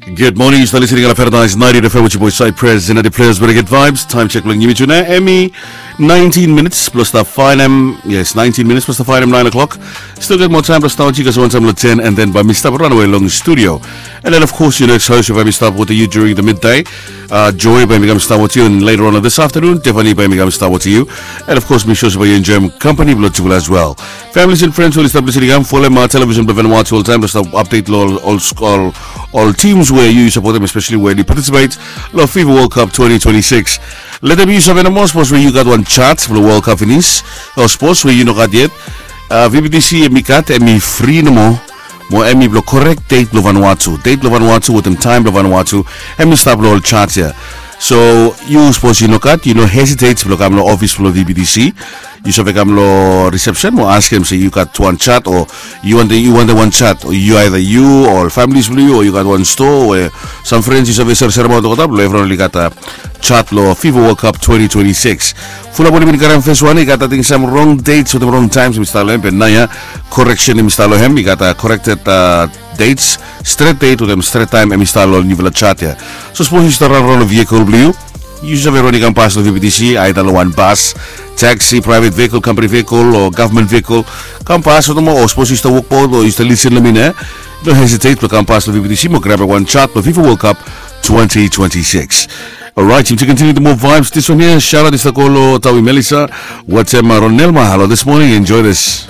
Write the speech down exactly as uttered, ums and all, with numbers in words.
Good morning, yu stap listening long Paradise ninety F M with your boy Cypress and the players with good vibes. Time check long yumi tu nao, hemi nineteen minutes plus the five m. Yes, nineteen minutes plus the five m, nine o'clock. Still get more time plus start with you guys one time long ten, and then by mi stap run away long studio. And then of course your next host will be stop with you during the midday. Uh, Joy by mi come start with you, and later on this afternoon, Tiffany by mi come start with you. And of course, mi sure by you enjoy company below as well. Families and friends, we stop listening. I'm full my television, but when watch all time, stop update all all all all teams where you support them, especially where you participate. Lo FIFA World Cup twenty twenty-six. Let them use of any more sports where you got one chat for the World Cup finish. Or sports where you no got yet. Uh, V B T C hemi gat, hemi free no more. Mo hemi blo correct date blo Vanuatu. Date blo Vanuatu with them time blo Vanuatu. Hemi stap lo ol chat ia. So you suppose you no gat, you no hesitate blo kam lo office blo V B T C. You save kam lo reception mo askem se you gat one chat, or you want the, you want the one chat, or you either you or families blo you, or you gat one store where some friends you save sere sere mo tokotap lo everyone oli gat a chat lo FIFA World Cup twenty twenty-six. Fulap oli bin karem first one, i gat ating some wrong dates with the wrong times, mi stalo em, but nao ia correction, mi stalo em, i gat a corrected uh, dates, straight date with them straight time, hemi stalo niufala chat ia. So suppose you start run around a vehicle blo you, you save run i kam pas lo V B T C, either lo one bus, taxi, private vehicle, company vehicle, or government vehicle. Kam pas with them, or suppose you start walk board, or you start listen lo mi nao. No hesitate, but kam pas lo V B T C, mo grab a one chat, but FIFA World Cup twenty twenty-six. All right, to continue the more vibes, this one here, shout out is the Kolo Tawi Melissa. What's up, Ronelma? Hello this morning, enjoy this.